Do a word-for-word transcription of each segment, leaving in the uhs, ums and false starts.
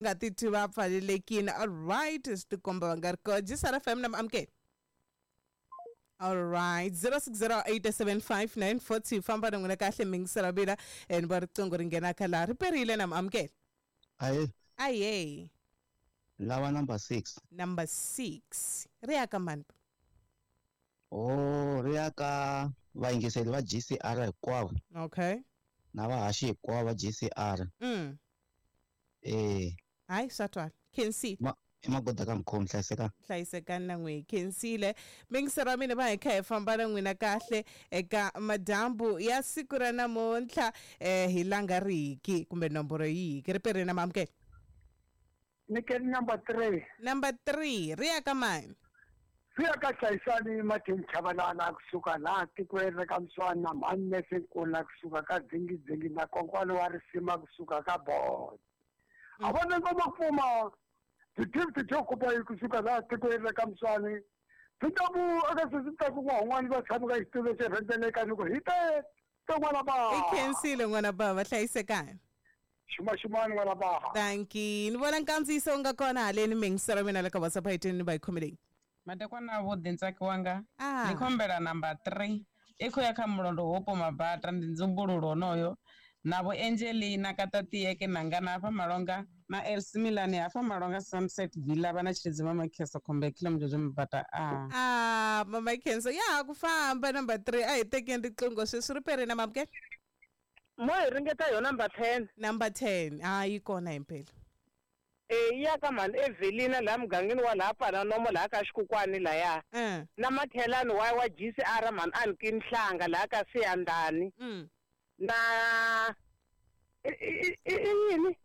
Nga titwi va pfalelekile. Alright, swi tikomba va nga ri kona. G S R F M na amukela. Alright, zero six zero eight seven five nine four two famba na n'wina kahle mingisela bila and va riqingho ri nghena kha laha ri perile na amukela. Aye. Aye. Lava number six. Number six. Ri ya ka mani? Oh, ri ya ka vayingiseri va G C R hinkwavo. Okay. Na vahaxi hinkwavo va G C R. Mm. Eh. Hayi swa twala. Khensi. Ma magoda ka mkhomi hlayisekani. Hlayisekani na n'wi khensile. Mingisero wa mina va hi kha hi famba na n'wina kahle eka madyambu ya siku ra namuntlha eh hi langa riki kumbe nomboro yiki ri perile na mamukela. Nikeni number three. Number three ri ya ka mani? Ri ya ka Hlayisani Martin Chabalala kusuka laha tikweni ra ka Mswana mhani Nesinkula kusuka ka Dzingidzingi na Konkwani wa Risima kusuka ka Bond. A vona ngoma pfuma ti-gift to kupa kusuka laha tikweni ra ka Mswani. Titabu aka sisita ku n'wana va tshama ka xitulo xo rhendzeleka ni ku hi te te n'wana ba. I khensile n'wana bava hlayisekani. Xuma xumani n'wana ba. Thank you. Ni vona nkandziyiso wu nga kona haleni mingiselo mina le ka WhatsApp a yi tweni ni va yi khomeleni. Madekwana vhuḓi ntsaki wanga. Ah. Ni khombela number three. I khou ya kha mulondo Hopo Mabata ndi nzumbululo onoyo. Na vho Angelina Katatiyeke nangana hafha Malonga na Elsie Milani hafha Malonga Sunset Villa vha na tshilidzi Mama Khenso khombe kilo mjojo Mabata a. Ah, Mama Khenso ya ku famba number three a hi tekeni riqingho sweswi ri perile na mamukela. Mo hi ringeta yo number ten. Number ten. Ah, yi kona himpela. Eh ya ka mhani Evelina laha mugangeni wa laha pfala nomo laha ka xikukwani laya. Mm. Na makhelani wa wa G C R mhani a ni Nhlanga laha ka Siyandani. Mm. Na i i yini?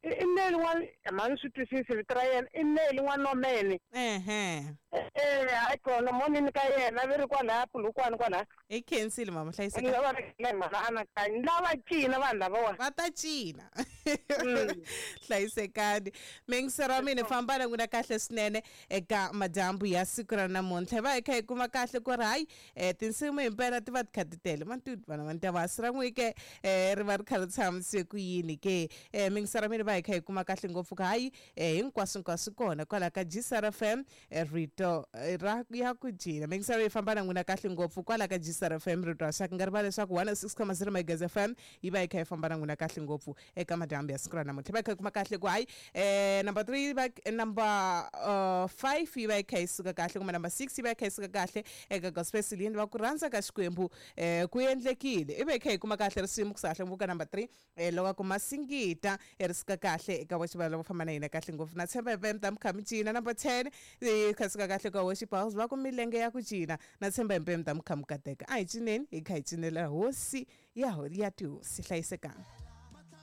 I Neli wa mhani swi twisisi vito ra yena i Neli wa Nomene. Ehe. Eh hayi kona monini ka yena vi ri kwalaya Polokwane kwalaya. I khensile mama hlayiseka. Ni lava ri mhana anakanyi lava cina vanhu lavawa. Va ta cina. Hlayisekani. Mingisero wa mina famba na n'wina kahle swinene eka madyambu ya siku ra namuntlha. Va hi kha hi kuma kahle ku ri hayi eh tinsimu himpela ti va ti kha ti tele. Matutu vana va ta va sira n'wi ke eh ri va ri kha ri tshamise ku yini ke. Eh mingisero wa mina va hi kha hi kuma kahle ngopfu ka hayi eh hinkwaswo hinkwaswo kona kwala ka G C R F M rito ra ya ku cina. Mingisero yi famba na n'wina kahle ngopfu kwala ka G C R F M rito ra xaka nga rivali leswaku one oh six point zero Megahertz F M yi va yi kha yi famba na n'wina kahle ngopfu eka madyambu ya siku ra namuntlha. Va hi kha hi kuma kahle ku hayi eh number three va number uh, five yi va yi kha yi suka kahle kumbe number six yi va yi kha yi suka kahle eka gospel Celine va ku rhandza ka Xikwembu eh ku endlekile. I va yi kha yi kuma kahle risimu ku sahle ngopfu ka number three eh loko ku masingita ri suka kahle eka worship lava famba na hina kahle ngopfu na tshemba hi ta mi kha mi cina. Number ten yi kha suka kahle ka worship house va ku milenge ya ku cina na tshemba hi ta mi kha mi kateka. A hi cineni hi kha hi cinela hosi ya ya tihosi hlayisekanga.